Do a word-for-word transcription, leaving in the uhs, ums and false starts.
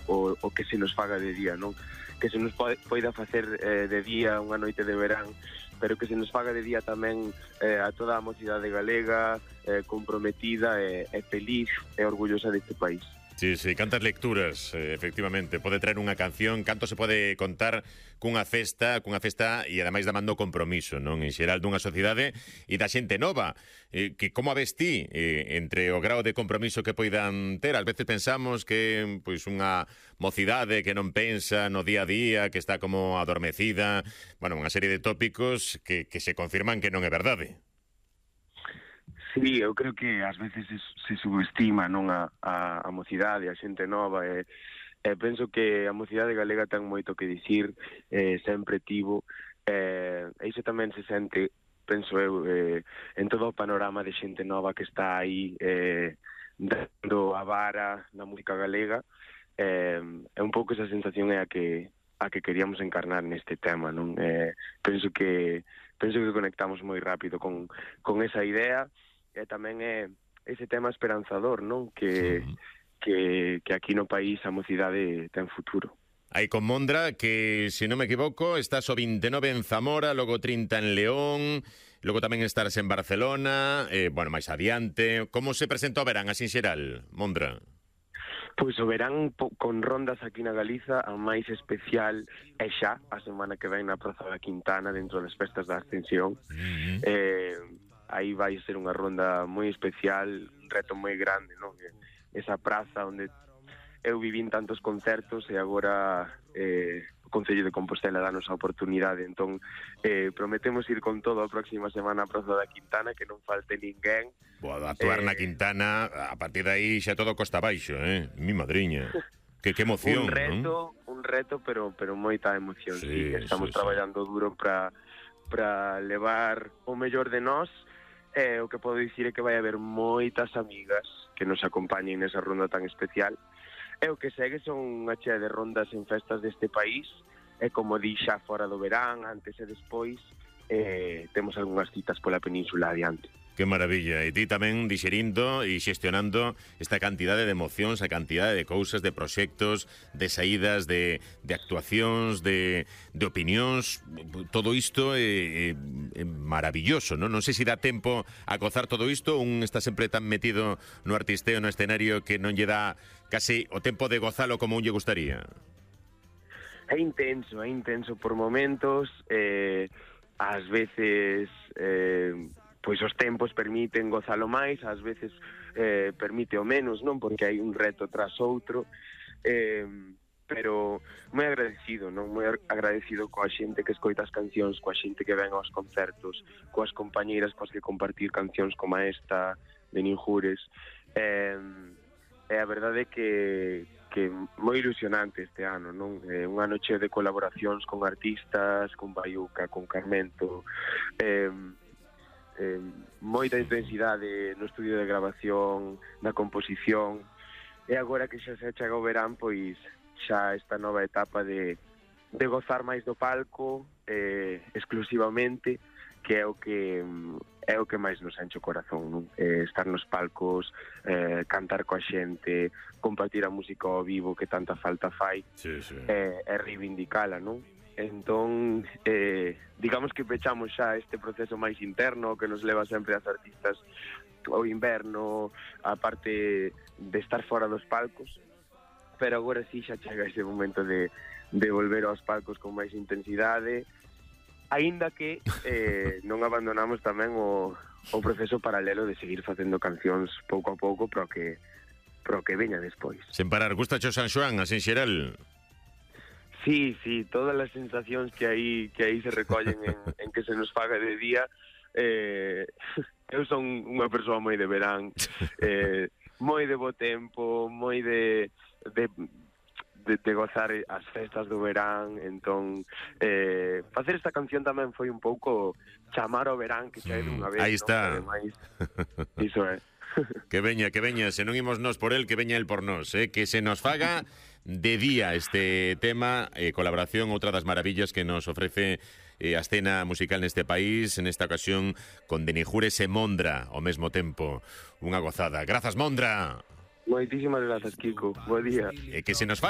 o, o que se nos faga de día, non? Que se nos pode, poida facer eh, de día unha noite de verán, pero que se nos faga de día tamén eh, a toda a mocidade galega, eh, comprometida e, e feliz e orgullosa deste país. Sí, sí, cantas lecturas, eh, efectivamente. Pode traer unha canción, canto se pode contar cunha festa, cunha festa e ademais damando compromiso, non? En xeral dunha sociedade e da xente nova, eh, que como a ves ti eh, entre o grau de compromiso que poidan ter? Ás veces pensamos que pois unha mocidade que non pensa no día a día, que está como adormecida, bueno, unha serie de tópicos que, que se confirman que non é verdade. Sí, eu creo que ás veces se, se subestima non a, a, a mocidade, a xente nova, e, e penso que a mocidade galega ten moito que dicir, eh, sempre tivo, e eh, iso tamén se sente, penso eu, eh, en todo o panorama de xente nova que está aí eh, dando a vara na música galega, eh, é un pouco esa sensación é a que a que queríamos encarnar neste tema, non? Eh, penso que penso que conectamos moi rápido con, con esa idea, e tamén é ese tema esperanzador, non? Que, sí. que, que aquí no país a mocidade ten futuro. Aí con Mondra, que, se non me equivoco, estás o vinte e nove en Zamora, logo trinta en León, logo tamén estarás en Barcelona, eh, bueno, máis adiante. Como se presenta o verán, así en xeral, Mondra? Pois o verán po, con rondas aquí na Galiza, a máis especial é xa, a semana que ven na Praza da Quintana, dentro das festas da Ascensión. Mm-hmm. Eh... aí vai ser unha ronda moi especial, un reto moi grande, non? Esa praza onde eu vivín tantos concertos e agora eh, o Concello de Compostela danos a oportunidade, entón eh, prometemos ir con todo a próxima semana a Praza da Quintana, que non falte ninguén. Boa, actuar eh, na Quintana, a partir de aí xa todo costa abaixo, eh? Mi madriña. Que, que emoción, un reto, non? Un reto, pero, pero moita emoción, sí, sí, estamos sí, traballando sí. duro para para levar o mellor de nós. Eh, o que podo dicir é que vai haber moitas amigas que nos acompañen nesa ronda tan especial. E o que segue son unha chea de rondas en festas deste país, e como di xa fora do verán, antes e despois, eh, temos algunhas citas pola península adiante. Que maravilla, e ti tamén dixerindo e xestionando esta cantidade de emocións, a cantidade de cousas, de proxectos, de saídas, de, de actuacións, de, de opinións, todo isto é, é, é maravilloso, non? Non sei se dá tempo a gozar todo isto, un está sempre tan metido no artisteo, no escenario, que non lle dá casi o tempo de gozalo como un lle gustaría. É intenso, é intenso por momentos, eh, ás veces... Eh, pois os tempos permiten gozalo máis, ás veces eh, permite o menos, non? Porque hai un reto tras outro, eh, pero moi agradecido, non? Moi agradecido coa xente que escoita as cancións, coa xente que ven aos concertos, coas compañeiras coas que compartir cancións como esta de Ninjures. Eh, e a verdade é que, que moi ilusionante este ano, non? Eh, un ano cheo de colaboracións con artistas, con Baiuca, con Carmento, eh, Eh, moita intensidade no estudio de grabación, na composición, e agora que xa se achega o verán, pois xa esta nova etapa de, de gozar máis do palco eh, exclusivamente, que é o que é o que máis nos enche o corazón, non? Eh, estar nos palcos, eh, cantar coa xente, compartir a música ao vivo que tanta falta fai, sí, sí. Eh, e reivindicala, non? Entón, eh, digamos que pechamos xa este proceso máis interno que nos leva sempre as artistas ao inverno, a parte de estar fora dos palcos, pero agora sí xa chega ese momento de, de volver aos palcos con máis intensidade, aínda que eh, non abandonamos tamén o, o proceso paralelo de seguir facendo cancións pouco a pouco, pero que, pero que veña despois. Sen parar, gusta cho San Xoán, así en xeral? Sí, sí, todas as sensacións que aí que aí se recollen en, en que se nos faga de día. Eh, eu son unha persoa moi de verán, eh, moi de bo tempo, moi de, de, de, de gozar as festas do verán, entón eh, facer esta canción tamén foi un pouco chamar ao verán que xa é dunha vez. Aí está. ¿no? Ademais, iso é. Que veña, que veña, se non imos nós por el, que veña el por nós, eh? Que se nos faga de día este tema, eh, colaboración, outra das maravillas que nos ofrece eh, a escena musical neste país, en esta ocasión con de Ninjures e Mondra ao mesmo tempo. Unha gozada. Grazas, Mondra. Moitísimas grazas, Kiko. Bo día. E que se nos faga